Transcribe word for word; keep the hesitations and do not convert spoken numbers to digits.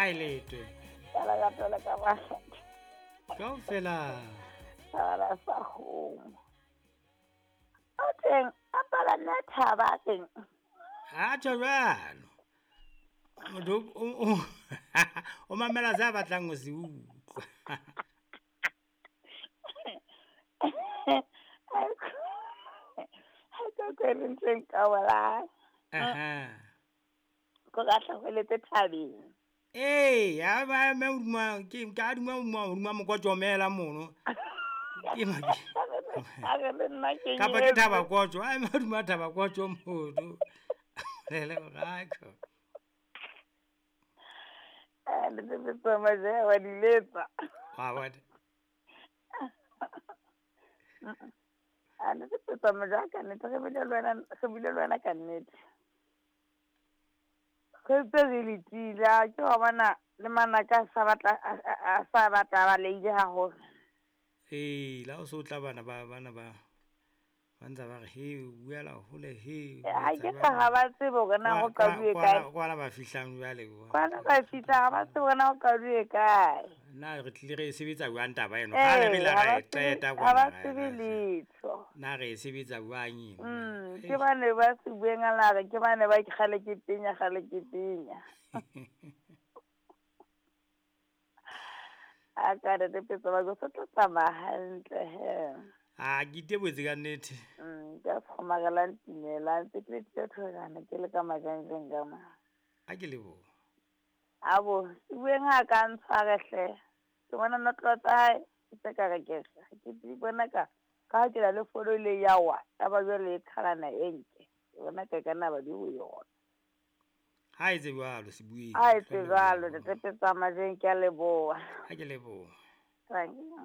Ha e letwe. Ka lerato le ka matla. Kaofela. Thabana sa kgomo. O teng a palame thaba a teng. Ha tjho jwalo. Motho o o o mamela se a batlang ho se utlwa. Ha ke kwele ntseng ka bolang. Aha. Ko ka hlahweletse thabeng. Ee, ha ba me hodima ke ka hodima hodima hodima mokotjomela mono. Ke ma A re le nna ke Kapa ke thaba kotjo, a eme hodima thaba kotjo mono. Le le rako. Eh, le tse maje wa di letsa. Wa bona. A ne ke tsa maje ka nnete re bile le wena re bile le wena ka nnete. Re ntse re letile ke wa bona le manaka a sa batla a sa batla ba leile haholo. Ee, la o so tla bana ba bana ba ba ntse ba re he o buela hole he. Ha ke sa ha ba tsebe hore na ho qaduwe kae. Kwana ba fihlang jwale. Kwana ba fihla ha ba tsebe hore na ho qaduwe kae. Na re tlile re e sebetsa jwang taba eno? Kgale re la ra e qeta Ha ba tsebe letho. Na re e sebetsa jwang eno? Mm, ke bane ba se bueng a la re ke bane ba kgale ke tenya kgale ke tenya. A ka re tepetsa ba go tlo tsamaya hantle he. A ke iteboetse ka nnete. Mm, ka kgomarelang tumela ntse ke le thojana ke le ka majanjeng ka ma. A ke leboha. Abo, bueng ha ka ntshware hle. Ke bona notlo tsa hae tse ka re ke ke di bona ka ka ke la le fono le ya wa taba jwale e qhalana e nke. Ke bona ka kana ba di ho yona. Ha etse jwalo Sebueng. Ha etse jwalo, tepetsa majeng ke a leboha. Ha ke leboha. Thank you.